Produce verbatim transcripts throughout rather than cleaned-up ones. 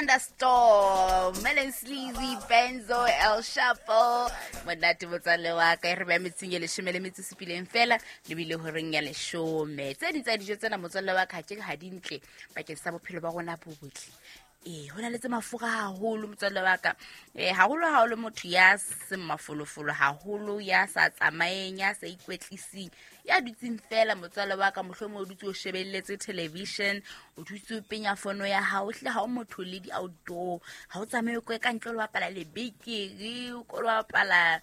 Thunderstorm, Melon Sleazy, Benzo, El Chapo. Monate motswalle wa ka, e re beha metsing e leshome le metso e supileng fela lebile horeng ya leshome. Tse ding tsa dijo tsena, motswalle wa ka, ke ha di ntle bakeng sa bophelo ba rona bo botle. Ee, ho na le tse mafura haholo, motswalle wa ka. um haholo ha o le motho ya seng mafolofolo haholo, ya sa tsamayeng, ya sa ikwetlising, ya dutseng fela, motswalle wa ka, mohlomong o dutse o shebelletse television, o dutse o penya fono ya hao, hlile ha o motho le di-outdoor, ha o tsamaye o ka ntle o lo bapala lebekere, o ko lo bapala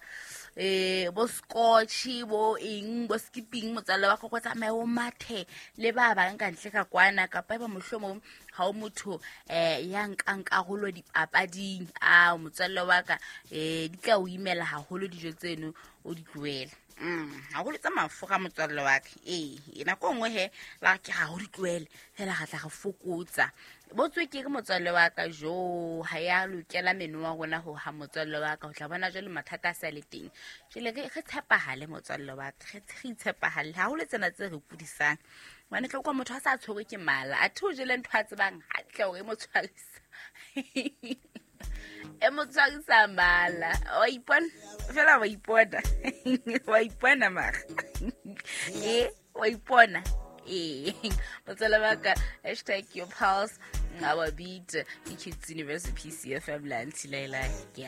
um bo scotch, bo eng, bo skipping, motswalle wa ka, ko tsamaye o mathe le ba bang ka ntle ka kwana. Kapa eba mohlomong ha o motho um ya nkang karolo dipapading, a motswalle wa ka, um di tla o imela haholo dijo tseno, o di tlohele. Mm, haholo tsa mafura, motswalle wa ka. Ee, nako e nngwe he ba re ke ga go di tlohele fela, ga tla re fokotsa bo tswekere, motswalle wa ka. Jo, ha ya lokela meno wa rona ho ha, motswalle wa ka, o tla bona jwale mathata a sa le teng. Jwale re re tshepahale, motswalle wa ka, re re itshepahale haholo tsena tse re kudisang, hobane tlo kwa motho a sa tshwerwe ke mala, athe o jele ntho a tsebang hantle hore e mo tshwarisa e mo tshwarisa mala. Wa ipona fela, wa ipona, wa ipona mara e wa ipona. Ee, motswalle wa ka, hashtag your pulse, our beat, ke Kids University P C F M la Ntilaila ke.